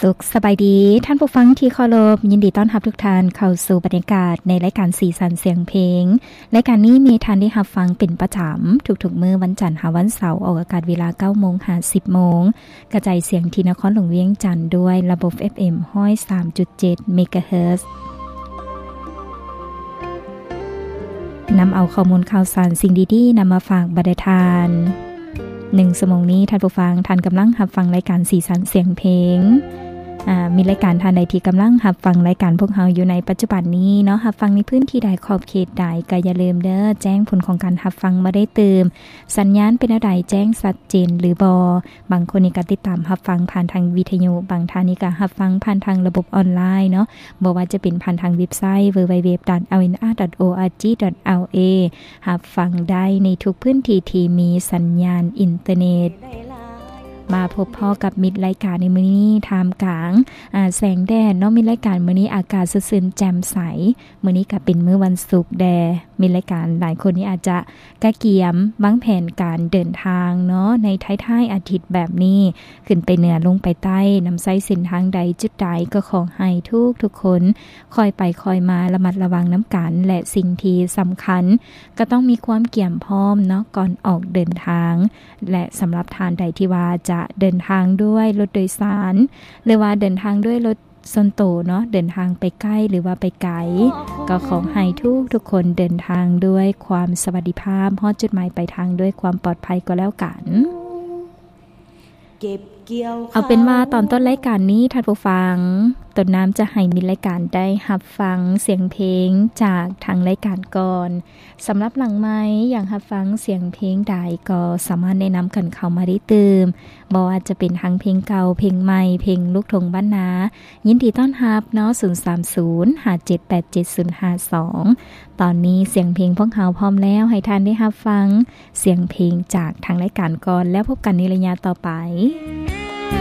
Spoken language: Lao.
ສຸກສະບາຍດີ ທ່ານຜູ້ຟັງທີ່ເຄົາລົບ, ຍິນດີຕ້ອນຮັບທຸກທ່ານເຂົ້າສູ່ບັນຍາກາດໃນລາຍການສີສັນສຽງເພງ. ລາຍການນີ້ມີທ່ານໄດ້ຮັບຟັງເປັນປະຈຳທຸກໆມື້ວັນຈັນຫາວັນເສົາ, ອອກອາກາດເວລາເກົ້າໂມງຫາສິບໂມງ, ກະຈາຍສຽງທີ່ນະຄອນຫຼວງວຽງຈັນດ້ວຍລະບົບ ເອັຟເອັມ ຮ້ອຍສາມຈຸດເຈັດ ເມກາເຮີດ. ນຳເອົາຂໍ້ມູນຂ່າວສານສິ່ງດີໆນຳມາຝາກບັນດາທ່ານ. ໜຶ່ງຊົ່ວໂມງນີ້ ທ່ານຜູ້ຟັງ, ທ່ານກຳລັງຮັບຟັງລາຍການສີສັນສຽງເພງ. ອາ, ມີລາຍການທ່ານໃດທີ່ກຳລັງຮັບຟັງລາຍການພວກເຮົາຢູ່ໃນປັດຈຸບັນນີ້ເນາະ, ຮັບຟັງໃນພື້ນທີ່ໃດ, ຂອບເຂດໃດ, ກໍຢ່າລືມເດີ, ແຈ້ງຜົນຂອງການຮັບຟັງມາໄດ້ຕື່ມ. ສັນຍານເປັນແນວໃດ, ແຈ້ງຊັດເຈນຫຼືບໍ່? ບາງຄົນນີ້ກໍຕິດຕາມຮັບຟັງຜ່ານທາງວິທະຍຸ, ບາງທ່ານນີ້ກໍຮັບຟັງຜ່ານທາງລະບົບອອນລາຍເນາະ, ບໍ່ວ່າຈະເປັນຜ່ານທາງເວັບໄຊ www.lnr.org.la ຮັບຟັງໄດ້ໃນທຸກພື້ນທີ່ທີ່ມີສັນຍານອິນເຕີເນັດ. ມາພົບພໍ້ກັບມິດລາຍການໃນມື້ນີ້ ທ່າມກາງ ອາ ແສງແດດເນາະ. ມິດລາຍການມື້ນີ້ອາກາດສົດຊື່ນແຈ່ມໃສ. ມື້ນີ້ກໍເປັນມື້ວັນສຸກແດ່. ມິດລາຍການຫຼາຍຄົນນີ້ອາດຈະກະກຽມວາງແຜນການເດີນທາງເນາະ ໃນທ້າຍໆອາທິດແບບນີ້ ຂຶ້ນໄປເໜືອ ລົງໄປໃຕ້, ນຳໃຊ້ເສັ້ນທາງໃດ ຈຸດໃດ ກໍຂໍໃຫ້ທຸກໆຄົນ ຄ່ອຍໄປຄ່ອຍມາ ລະມັດລະວັງນຳກັນ ແລະ ສິ່ງທີ່ສຳຄັນ ກໍຕ້ອງມີຄວາມກຽມພ້ອມເນາະ ກ່ອນອອກເດີນທາງ. ແລະ ສຳລັບທ່ານໃດທີ່ວ່າຈະເດີນທາງດ້ວຍລົດໂດຍສານ ຫຼືວ່າເດີນທາງດ້ວຍລົດສ່ວນໂຕເນາະ, ເດີນທາງໄປໃກ້ ຫຼືວ່າໄປໄກ, ກໍຂໍໃຫ້ທຸກໆຄົນເດີນທາງດ້ວຍຄວາມສະຫວັດດີພາບ, ຮອດຈຸດໝາຍປາຍທາງດ້ວຍຄວາມປອດໄພກໍແລ້ວກັນ. ເອົາເປັນວ່າຕອນຕົ້ນລາຍການນີ້ ທ່ານຜູ້ຟັງ, ຕົ້ນນ້ຳຈະໃຫ້ມິດລາຍການໄດ້ຮັບຟັງສຽງເພງຈາກທາງລາຍການກ່ອນ. ສຳລັບຫຼັງໄມ ຢາກຮັບຟັງສຽງເພງໃດ ກໍສາມາດແນະນຳກັນເຂົ້າມາໄດ້ຕື່ມ, ບໍ່ວ່າຈະເປັນທັງເພງເກົ່າ, ເພງໃໝ່, ເພງລູກທົ່ງບ້ານນາ, ຍິນດີຕ້ອນຮັບເນາະ, ສູນສາມສູນ ຫ້າເຈັດແປດເຈັດສູນຫ້າສອງ. ຕອນນີ້ສຽງເພງພວກເຮົາພ້ອມແລ້ວ ໃຫ້ທ່ານໄດ້ຮັບຟັງສຽງເພງຈາກທາງລາຍການກ່ອນ, ແລ້ວພົບກັນໃນໄລຍະຕໍ່ໄປ.